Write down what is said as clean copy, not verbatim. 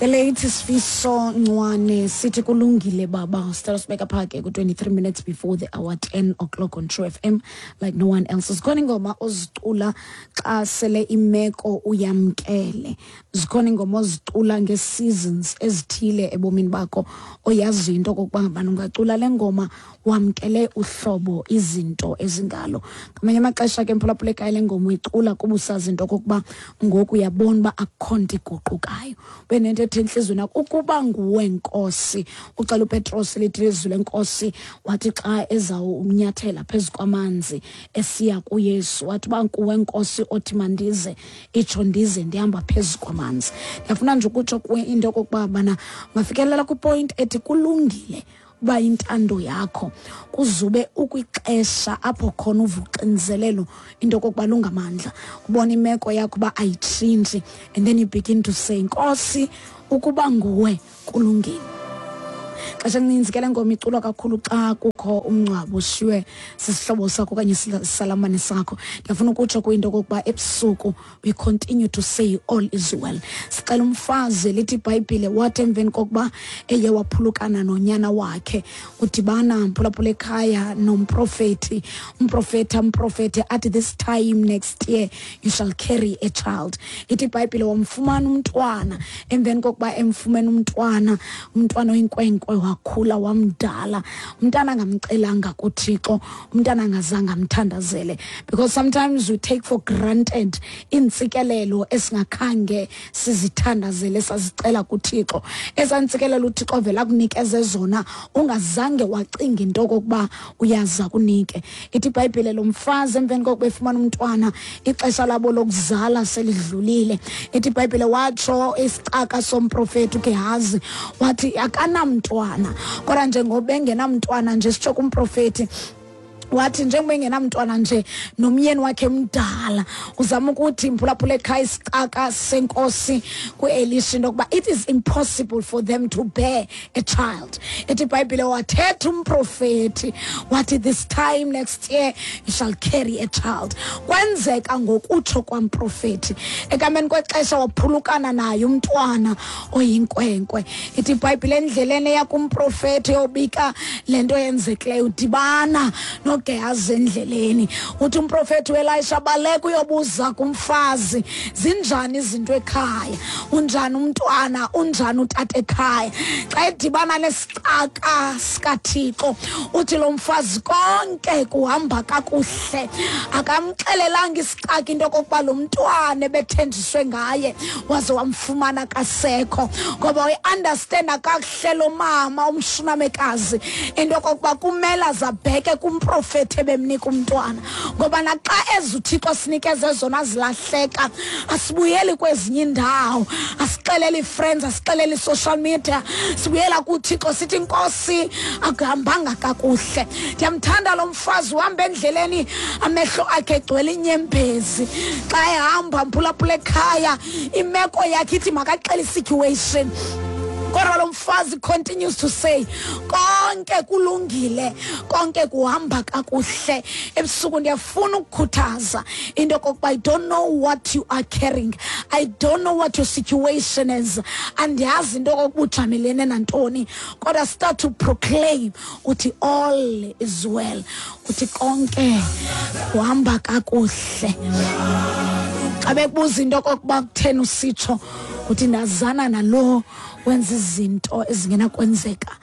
The late Sifiso Ncwane sithi kulungile baba. Sicela sibeka pha ke ku-23 minutes before the hour 10 o'clock on True FM like no one else. Zikhona ingoma ozicula xa sele imeko uyamkele. Zikhona ingoma ozicula ngee-seasons ezithile ebomini bakho oyaziyo into okokuba ngabana ungacula le ngoma wamkele uhlobo izinto ezingalo. Ngamanye amaxesha ke mphulaphula ekhaya le ngoma uyicula kuba usazi into okokuba ngoku uyabona uba akukho nto iguqukayo. Ube nento ethi entliziyweni yakho ukuba nguwe Nkosi. Uxela uPetros lithi lizwi lenkosi wathi xa ezawunyathela phezu kwamanzi esiya kuYesu wathi uba nguwe Nkosi othi mandize itsho ndize ndihamba phezu kwamanzi. Ndiyafuna nje ukutsho kuwe into okokuba bana ungafikelela kwipoint ethi kulungile uba intando yakho kuzube ukwixesha apho khona uva uxinizelelo into okokuba lungamandla ubona imeko yakho uba ayitshintshi and then you begin to say Nkosi ukuba nguwe kulungile. Xesha elininzi ke le ngoma iculwa kakhulu xa kukho umngcwabo ushiywe sisihlobo sakho okanye isalamane sakho. Ndiyafuna ukutsho kuyinto okokuba ebusuku we continue to say all is well. Sicela umfazi lithi iBhayibhile wathi emveni kokuba eye waphulukana nonyana wakhe udibana mphulaphula ekhaya nomprofethi, umprofethi amprofethi athi this time next year you shall carry a child. Ithi iBhayibhile wamfumana umntwana, emveni kokuba emfumene umntwana, umntwana oyinkwenkwe wakhula wamdala, umntana angamcelanga kuThixo, umntana angazange amthandazele, because sometimes we take for granted iintsikelelo esingakhange sizithandazele sazicela kuThixo. Ezaa ntsikelelo uThixo avela akunikeze zona ungazange wacinga into okokuba uyaza kunike. Ithi iBhayibhile lo mfazi emveni kokuba efumana umntwana ixesha labo lokuzala selidlulile. Ithi iBhayibhile watsho isicaka somprofethi uGehazi wathi akanamntwana, kodwa njengoba engenamntwana nje sitsho kumprofethi wathi njengoba engenamntwana nje nomyeni wakhe mdala, uzama ukuthi mphulaphula ekhaya isicaka senkosi kuElisha into yokuba it is impossible for them to bear a child. Ithi iBhayibhile wathetha umprofethi wathi this time next year you shall carry a child. Kwenzeka ngokutsho kwamprofethi. Ekuhambeni kwexesha waphulukana naye umntwana oyinkwenkwe. Ithi iBhayibhile endleleni eya kumprofethi yobika le nto yenzekileyo udibana noGehazi endleleni. Uthi umprofethi uElisha baleka uyobuza kumfazi zinjani izinto ekhaya, unjani umntwana, unjani utata ekhaya. Xa edibana nesicaka sikaThixo uthi lo mfazi konke kuhamba kakuhle. Akamxelelanga isicaka into okokuba lo mntwana ebethenjiswe ngaye waze wamfumana kasekho, ngoba uyi-understanda kakuhle lo mama umshunamekazi into okokuba kumele azabheke kumprofethi ebemnika umntwana, ngoba naxa eza uThixo sinikeze zona zilahleka asibuyeli kwezinye indawo, asixeleli ii-friends, asixeleli i-social media, sibuyela kuThixo sithi Nkosi akuhambanga kakuhle. Ndiyamthanda lo mfazi uhamba endleleni amehlo akhe egcwele inyembezi. Xa ehamba mphulaphula ekhaya imeko yakhe ithi makaxele i-situation, kodwa lo mfazi continues to say konke kulungile, konke kuhamba kakuhle. Ebusuku ndiyafuna ukukhuthaza into okokuba I don't know what you are carrying, I don't know what your situation is, andiyazi into okokuba ujamelene nantoni, kodwa start to proclaim uthi all is well, uthi konke kuhamba kakuhle. Xa bekubuza into okokuba kutheni usitsho, uthi ndazana nalo wenza izinto ezingenakwenzeka.